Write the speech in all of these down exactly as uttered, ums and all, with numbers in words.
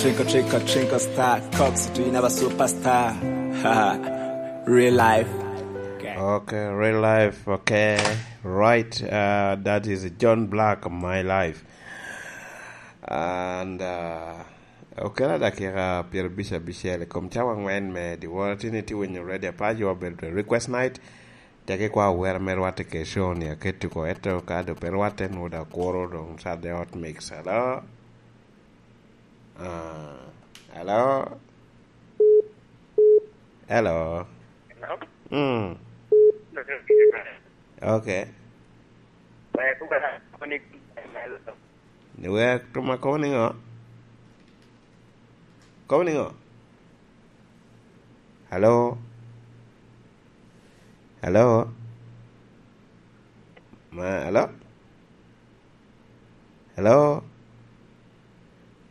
Trinko, trinko, trinko star. Cox, do you never superstar? Real life. Okay, real life. Okay, right. Uh, that is John Black, My Life. And uh, okela dakika pyerabic abicel i kom cawa angwen me dyewor. Atye ni tye winyo Radio Apac, wa bedo the request night. Teke kwa wera me rwatte ke show ni aketo ko, eto ka do pe rwatte, nwo da kuro dong Saturday Hot Mix. Hello? Ah, hello? Hello? Hello? Mm. Okay. Ni wek tuma kobo ni ngo? Kobo ni ngo? Hello? Hello? Ma, hello? Hello?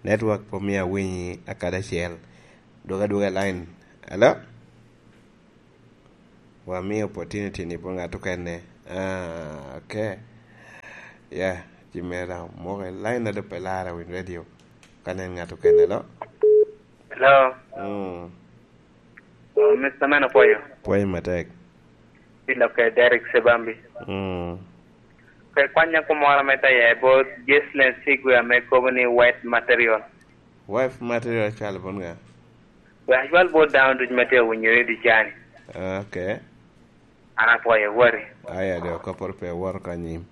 Network pe omio awinyi akadi acel. Dwogo adwoga i line. Hello? Wamio opportunity ni bot ngat okene. Ah, okay. Yeah, ci mera moko i line ado pe lara win radio. Ka nen ngat okene lo. Hello. Mm. Oh, Mister Man, apwoyo. Pwoyo matek. Pi lokke Derek Sebambi. Mm. Pe kwanya kumoro me taye bot Jeslen Sigwe ame kobo ni white material. White material cwalo bot nga? Wek acwal bot dano ducu ma tye awinyo redio cani. Ah, okay. An apwoyo, wari. Aya, de okaporo pe woro ka nyim.